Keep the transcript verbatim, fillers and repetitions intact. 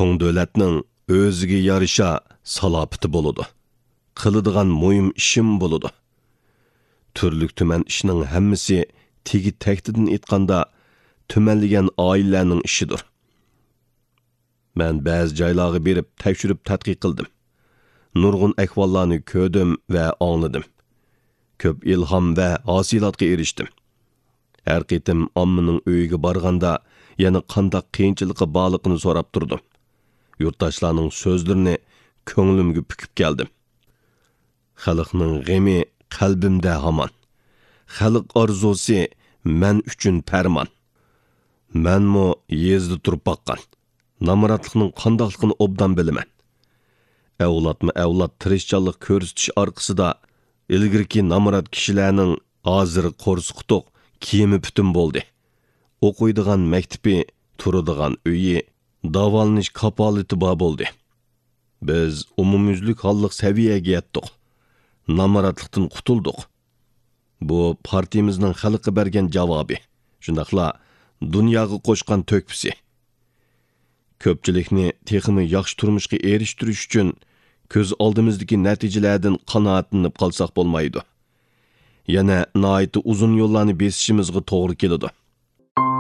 چوڭ دۆلەتنىڭ ئۆزىگە يارىشا سالاپىتى بولىدۇ. قىلىدىغان مۇھىم ئىشىم بولىدۇ. تۈرلۈك تۈمەن ئىشنىڭ ھەممىسى تېگى تەكتىدىن ئېيتقاندا، تۈمەنلىگەن ئائىلىلەرنىڭ ئىشىدۇر. مەن بەزى جايلارغا بېرىپ تەكشۈرۈپ تەتقىق قىلدىم. نۇرغۇن ئەھۋاللارنى كۆردۈم ۋە ئاڭلىدىم. كۆپ ئىلھام ۋە ھاسىلاتقا ئېرىشتىم. ھەر قېتىم ئاممىنىڭ ئۆيىگە بارغاندا، يەنە قانداق قىيىنچىلىقى بارلىقىنى سوراپ تۇردۇم. يۇرتداشلارنىڭ سۆزلىرىنى كۆڭلۈمگە پۈكۈپ كەلدىم. خەلقنىڭ غېمى قەلبىمدە ھامان. خەلق ئارزۇسى مەن ئۈچۈن پەرمان. مەنمۇ يېزىدا تۇرۇپ باققان. نامراتلىقنىڭ قانداقلىقىنى ئوبدان بىلىمەن. ئەۋلادمۇ ئەۋلاد تىرىشچانلىق كۆرسىتىش ئارقىسىدا، ئىلگىرىكى نامرات كىشىلەرنىڭ ھازىر قورسىقى توق، كىيىمى پۈتۈن بولدى. ئوقۇيدىغان مەكتىپى، تۇرىدىغان ئۆيى، داۋالىنىش كاپالىتى بار بولدى. بىز ئومۇميۈزلۈك ھاللىق سەۋىيەگە يەتتۇق. نامراتلىقتىن قۇتۇلدۇق. بۇ پارتىيىمىزنىڭ خەلققە بەرگەن جاۋابى، شۇنداقلا دۇنياغا قوشقان تۆھپىسى. كۆپچىلىكنى تېخىمۇ ياخشى تۇرمۇشقا ئېرىشتۈرۈش ئۈچۈن كۆز ئالدىمىزدىكى نەتىجىلەردىن قانائەتلىنىپ قالساق بولمايدۇ. يەنە ناھايىتى ئۇزۇن يوللارنى بېسىشىمىزغا توغرا كېلىدۇ.